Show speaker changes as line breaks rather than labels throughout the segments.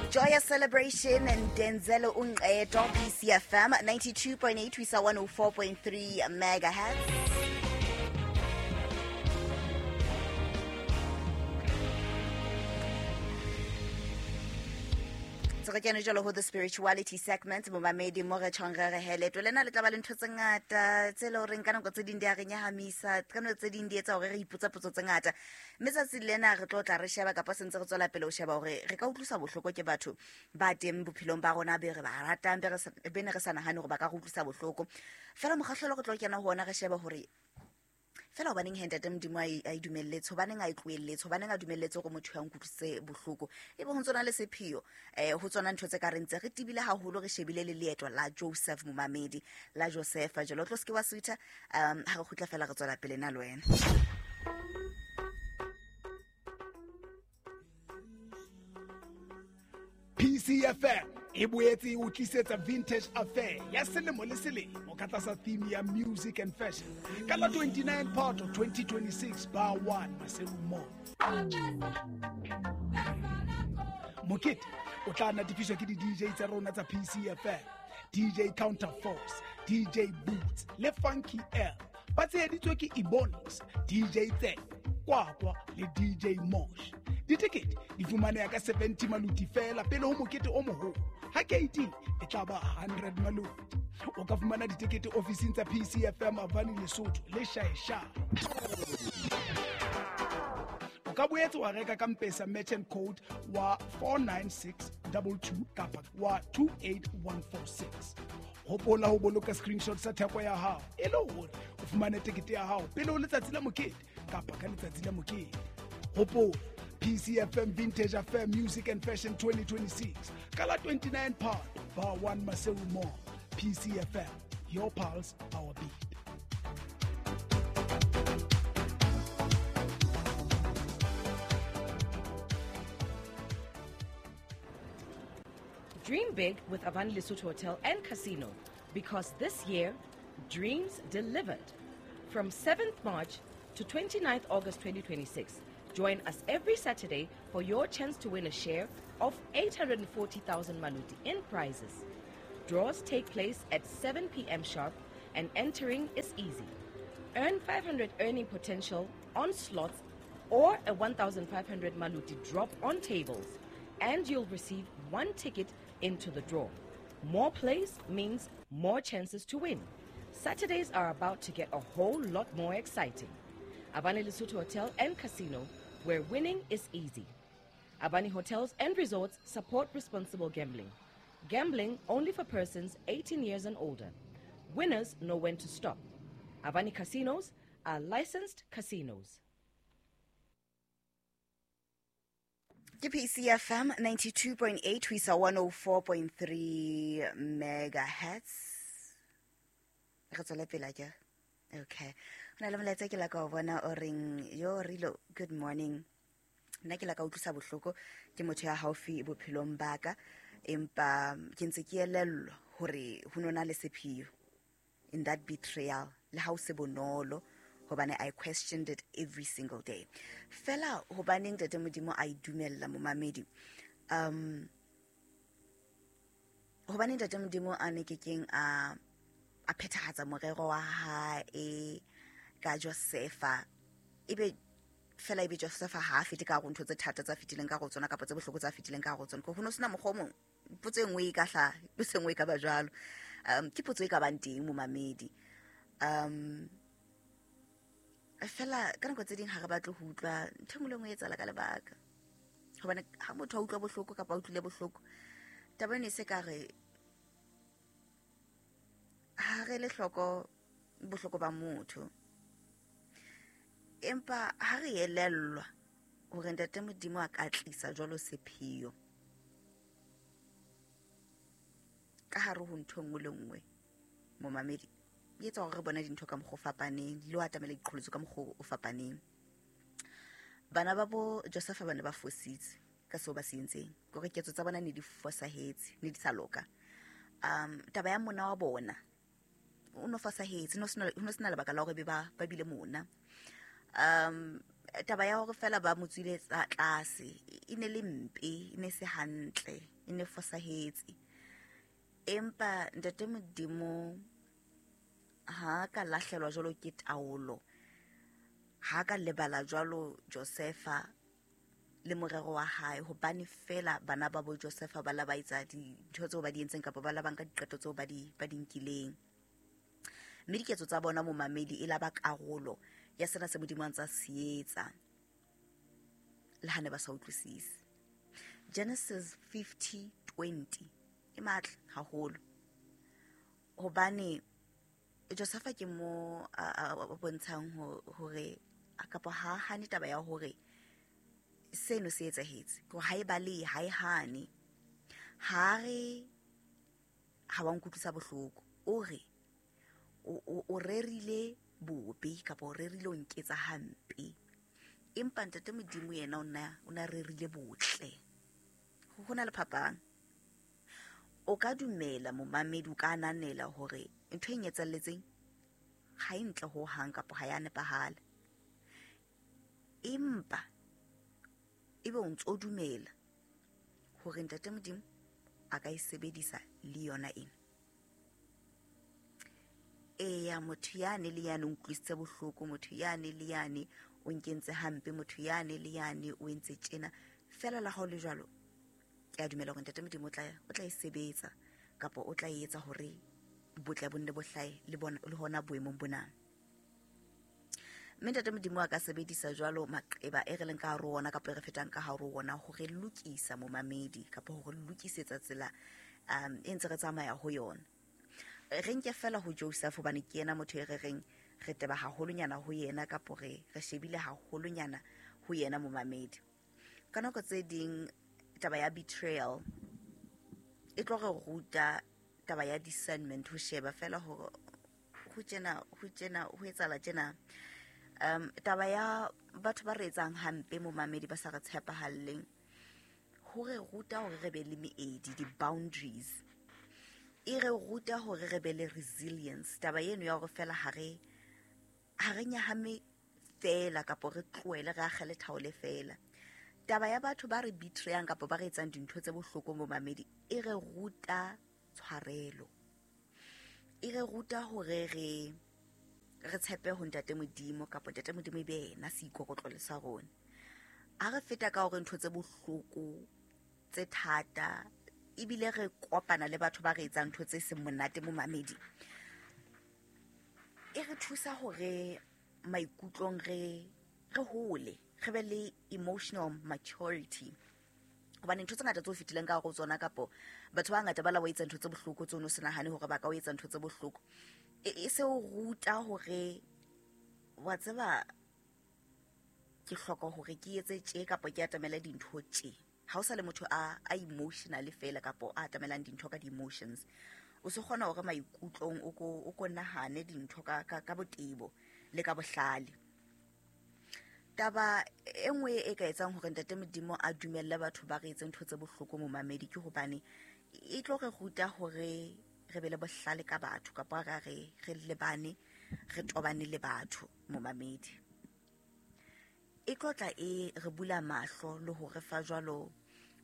Joyous celebration and Denzel Unqeto, PCFM 92.8 to 104.3 megahertz. Re kene jalo ho the spirituality segment, momamedi, mo re tjhong re re heleto lena le tla ba le ntho tse ngata tse le horeng ka nako tse ding di a re nyahamisa, ka nako tse ding di etsa hore re ipotsa potso tse ngata. Mme tsatsi lena re tlo tla re sheba, kapa sentse re tswela pele ho sheba hore re ka utlwisa bohloko ke batho ba teng bophelong ba rona be re ba ratang, be ne re sa nahane hore ba ka re utlwisa bohloko. Fela mokgahlelo re tlo kena ho ona, re shebe hore fela hobaneng he ntate Modimo a e dumelletse, hobaneng a e tlohelletse, hobaneng a dumelletse hore motho ya nkutlwisitse bohloko, ebe ho ntsona le sepheo ho tsona ntho tse ka re ntse re tibile haholo, re shebile le leeto la Joseph, momamedi, la Joseph. Jalo tlo seke wa sutha, ha re kgutla fela re tswela pele na le wena.
PCFM e boetse e o tlisetsa Vintage Affair ya selemo le selemo ka tlasa theme ya Music and Fashion ka la 29 Phato 2026 bar 1 Maseru Mall. Mokete o tla natefiswa ke di-DJ tsa rona tsa PCFM, DJ Counterforce, DJ Boots le Funky L, ba tsheheditswe ke Ebonics, DJ Tse, Kwakwa le DJ Mosh. Ditekete di fumaneha ka 70 maluti fela pele ho mokete o moholo. Ha K18 e tla ba 100 maluti. O ka fumana ditekete ofising tsa PCFM Avani Lesotho le Shaeshae. O ka boetse wa reka ka Mpesa merchant code wa 49622 kapa wa 28146. Hopola ho boloka screenshot sa theko ya hao e le hore o fumane tekete ya hao pele ho letsatsi la mokete kapa ka letsatsi la mokete. Hopola PCFM Vintage Affair Music and Fashion 2026 ka la 29 Phato bar 1 Maseru Mall. PCFM, your pulse, our beat.
Dream big with Avani Lesotho Hotel and Casino, because this year, dreams delivered. From 7th March to 29th August 2026, join us every Saturday for your chance to win a share of 840,000 maluti in prizes. Draws take place at 7 p.m. sharp and entering is easy. Earn 500 earning potential on slots or a 1,500 maluti drop on tables, and you'll receive one ticket into the draw. More plays means more chances to win. Saturdays are about to get a whole lot more exciting. Avani Lesotho Hotel and Casino, where winning is easy. Avani Hotels and Resorts support responsible gambling. Gambling only for persons 18 years and older. Winners know when to stop. Avani Casinos are licensed casinos.
Ke PCFM 92.8 ho isa 104.3 megahertz. Re tswele pele ke. Okay. Ho na le molaetsa ke la ka o bona o reng yo rilo, good morning. Nna ke la ka utlwisa bohloko ke motho ya haufi bophelong ba ka, empa ke ntse ke elellwa hore ho nona le sepheo in that betrayal, le ha o se bonolo, hobane I questioned it every single day. Fela hobaneng ntate Modimo a e dumella, momamedi? Hobaneng ntate Modimo a ne kekeng a phethahatsa morero wa hae ka Josefa, ebe fela ebe Josefa ha a fete ka hare ho ntho tse thata tsa fetileng ka hare ho tsona, kapa tse bohloko tsa fetileng ka hare ho tsona? Ho no sena mokgwa o mong? Potso e nngwe e ka hlaha, potso e nngwe e ka ba jwalo. Ke potso e ka bang teng, momamedi. Fela ka nako tse ding ha re batle ho utlwa ntho e nngwe le nngwe e etsahala ka lebaka, hobane ha motho a utlwa bohloko kapa a utlwile bohloko, taba eno e se ka re ha re le hloko bohloko ba motho, empa ha re elellwa hore ntate Modimo a ka tlisa jwalo sepheo ka hare ho ntho e nngwe le nngwe, momamedi, e etsa hore re bone dintho ka mokgwa o fapaneng le ho atamela diqholotso ka mokgwa o fapaneng. Bana ba bo Josepha ba ne ba fositse ka seo ba se entseng, kore ketso tsa bona ne di fosahetse, ne di sa loka. Taba ya mona wa bona o no fosahetse, ho no sena lebaka la hore be ba bile mona. Taba ya hore fela ba mo tswile tlase e ne le mpe, e ne se hantle, e ne fosahetse. Empa Ntate Modimo ha ka lahlelwa jwalo ke taolo, ha ka lebala jwalo Josefa le morero wa hae, hobane fela bana ba bo Josefa ba la ba etsa dintho tseo ba di entseng kapa ba la ba nka diqeto tseo ba di nkileng. Mme diketso tsa bona momamedi e la ba karolo ya sena se Modimo a ntsa se etsa, le ha ne ba sa utlwisise. Genesis 50:20 e matla haholo, hobane Josefa ke mo a bontshang hore kapa ha hane taba ya hore seno se etsahetse, ke ha e balehe, ha e hane, ha re ha wa nkutlwisa bohloko, o re o rerile bobe kapa o rerile o nketsa hampe, empa Ntate Modimo yena o na rerile botle. Ho na le phapang. O ka dumela momamedi, o ka ananela hore ntho e nketsalletseng ha e ntle ho hang kapa ha ya nepahala, empa ebe o ntso dumela hore Ntate Modimo a ka e sebedisa le yona ena. Eya, motho yane le yane o nkutlwisitse bohloko, motho yane le yane o nkentse hampe, motho yane le yane o entse tjena, fela la hao le jwalo ke a dumela hore Ntate Modimo o tla e sebetsa kapa o tla e etsa hore botle bo nne bo hlahe le bona le hona boemong bona. Mme Ntate Modimo a ka sebedisa jwalo maqeba e re leng ka hare ho ona kapa e re fetang ka hare ho ona hore lokisa momamedi kapa hore lokisetsa tsela e ntse re tsamaya ho yona. Re nke fela ho Joseph hobane ke yena motho e re reng re teba haholonyana ho yena kapa re shebile haholonyana ho yena momamedi. Ka nako tse ding taba ya betrayal e tlo re ruta taba ya discernment, ho sheba fela hore ho tjena ho etsahala tjena. Taba ya batho ba re etsang hampe momamedi ba sa re tshepahalleng, ho re ruta hore re be le meedi, di-boundaries. E re ruta hore re be le resilience. Taba eno ya hore fela ha re nyahame fela kapa re tlohele re akgele thaole fela. Taba ya batho ba re betrayang kapa ba re etsang dintho tse bohloko momamedi e re ruta tshwarelo. E re ruta hore re tshepe ho Ntate Modimo kapa Ntate Modimo e be yena seikokotlolo sa rona. Ha re feta ka hore ntho tse bohloko tse thata ebile re kopana le batho ba re etsang ntho tse seng monate momamedi, e re thusa hore maikutlong re hole, re be le emotional maturity. Hobane ntho tse ngata tse o fetileng ka hare ho tsona kapo batho ba ngata ba la wa etsa ntho tse bohloko tseo o se nahane hore ba ka o etsa ntho tse bohloko, e se o ruta hore wa tseba ke hloka hore ke etse tje kapa ke atamele dintho tje. Ha o sa le motho a emotional fela kapo a atamelang dintho ka di-emotions, o se kgona hore maikutlong o ko nahane dintho ka botebo le ka bohlale. Taba e nngwe e ka etsang hore Ntate Modimo a dumelle batho ba re etse ntho tse bohloko momamedi ke hobane e tlo re ruta hore re be le bohlale ka batho kapa re lebane, re tobane le batho momamedi. E tlo tla e re bula mahlo le hore fa jwalo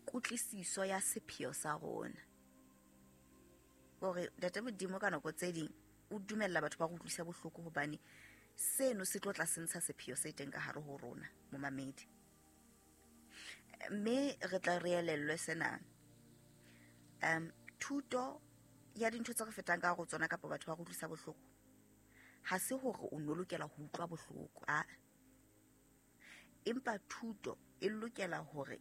kutlwisiso ya sepheo sa rona. Hore Ntate Modimo ka nako tse ding o dumella batho ba re utlwisa bohloko hobane seno se tlo tla se ntsha sepheo se teng ka hare ho rona momamedi. Mme re tla re elellwe sena. Thuto ya dintho tse re fetang ka hare ho tsona kapa batho ba re utlwisa bohloko, ha se hore o no lokela ho utlwa bohloko, a empa thuto e lokela hore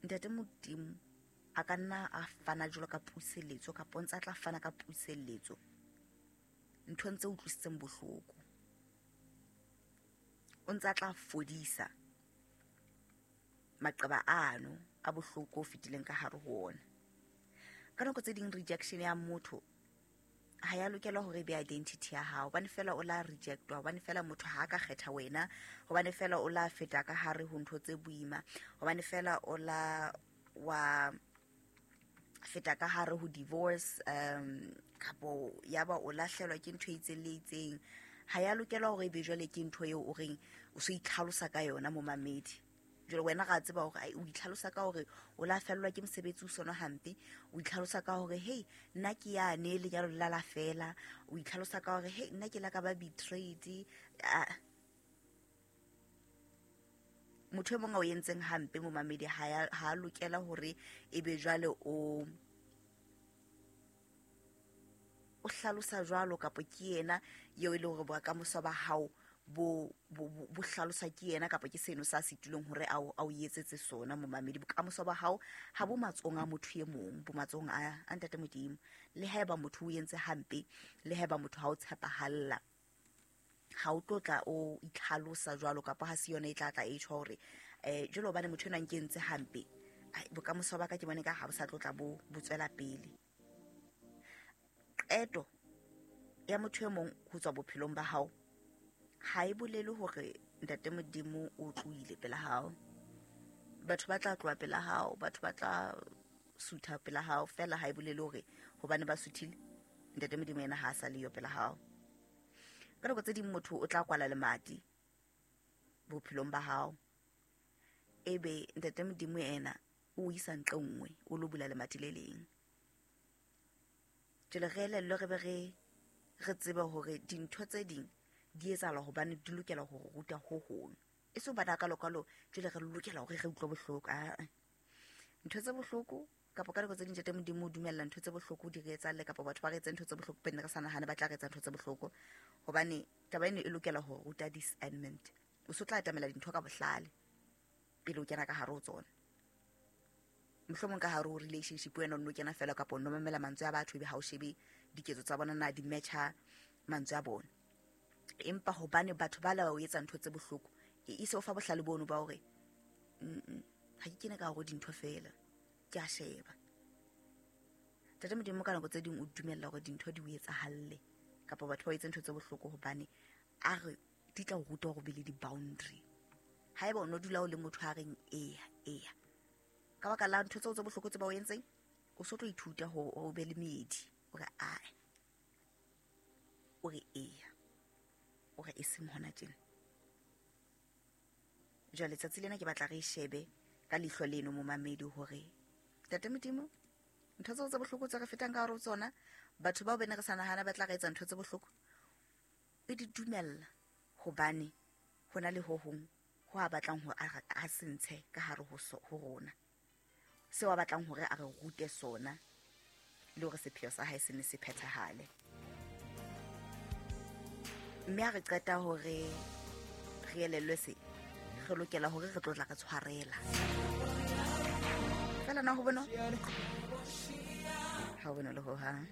Ntate Modimo a ka nna a fana jwalo ka puseletso kapa o ntse a tla fana ka puseletso nthong tse utlwisitseng bohloko. O ntse a tla fodisa maqeba ano a bohloko o fetileng ka hare ho ona. Ka nako tse ding rejection ya motho ha ya lokela hore e be identity ya hao, hobane fela o la rejectwa, hobane fela motho ha ka kgetha wena, hobane fela o la feta ka hare ho ntho tse boima, hobane fela o la wa feta ka hare ho divorce, kapo ya ba o lahlelwa ke ntho e itseng le itseng. Ha ya lokela hore ebe jwale ke ntho eo o reng o so itlhalosa ka yona momamedi. Jwale wena ga tseba hore o itlhalosa ka hore o la fellwa ke mosebetsi o sona hampe, o itlhalosa ka hore hey nna ke yane lenyalo la la fela, o itlhalosa ka hore hey nna ke la ka ba betrayed. Motho e mong a o entseng hampe momamedi ha a lokela hore ebe jwale o hlalosa jwalo kapa ke yena eo e le hore bokamoso ba hao bo hlalosa ke yena kapa ke seno sa setulong hore a o etsetse sona momamedi. Bokamoso ba hao ha bo matsohong a motho e mong, bo matsohong a Ntate Modimo. Le haeba motho o entse hampe, le haeba motho ha o tshepahalla, ha o tlo tla o itlhalosa jwalo kapa ha se yona e tla tla e tjho hore jwalo hobane motho ena nke entse hampe, bokamoso ba ka ke bone ka ha bo sa tlo tla bo tswela pele. Qeto ya motho e mong ho tswa bophelong ba hao ha e bolele hore Ntate Modimo o tlohile pela hao. Batho ba tla tloha pela hao, batho ba tla sutha pela hao, fela ha e bolele hore hobane ba suthile Ntate Modimo yena ha a sa le yo pela hao. Ka nako tse ding motho o tla kwala lemati bophelong ba hao, ebe Ntate Modimo yena o isa ntle nngwe o lo bula lemati le leng. Jwale re elellwe re be re tsebe hore dintho tse ding di etsahala hobane di lokela ho ruta ho hong. E se hobane hakalo-kalo jwale re lokela hore re utlwe bohloko. Ntho tse bohloko kapa ka nako tse ding Ntate Modimo o dumella ntho tse bohloko di re etsahalle kapa batho ba re etse ntho tse bohloko pele re sa nahane ba tla re etsa ntho tse bohloko, hobane taba eno e lokela ho ruta discernment. O so tla atamela dintho ka bohlale pele o kena ka hare ho tsona. Mohlomong ka hare ho relationship wena o nno kena fela kapa o nno mamela mantswe a batho ebe ha o shebe diketso tsa bona na di matcha mantswe a bona. Empa hobane batho ba la o etsa ntho tse bohloko, e se o fa bohlale bono ba hore ha ke kene ka hore dintho fela ke a sheba. Ntate Modimo ka nako tse ding o dumella hore dintho di o etsahalle kapa batho ba etse ntho tse bohloko hobane a re di tla o ruta hore o be le di-boundary. Haeba o no dula o le motho a reng eya eya, ka baka la ntho tseo tse bohloko tse ba o entseng, o so tlo ithuta hore o be le meedi, o re ae, o re eya, o re e seng hona tjena. Jwale tsatsi lena ke batla re shebe ka leihlo leno momamedi hore Ntate Modimo ntho tseo tse bohloko tse re fetang ka hare ho tsona, batho bao bene re sa nahana ba tla re etsa ntho tse bohloko, e di dumella hobane ho na le ho hong ho a batlang hore a se ntshe ka hare ho rona, seo a batlang hore a re rute sona le hore sepheo sa hae se ne se phethahale. Mme ha re qeta hore re elellwe se, re lokela hore re tlo tla re tshwarela. Fela na ho bonolo? Ha ho bonolo hohang.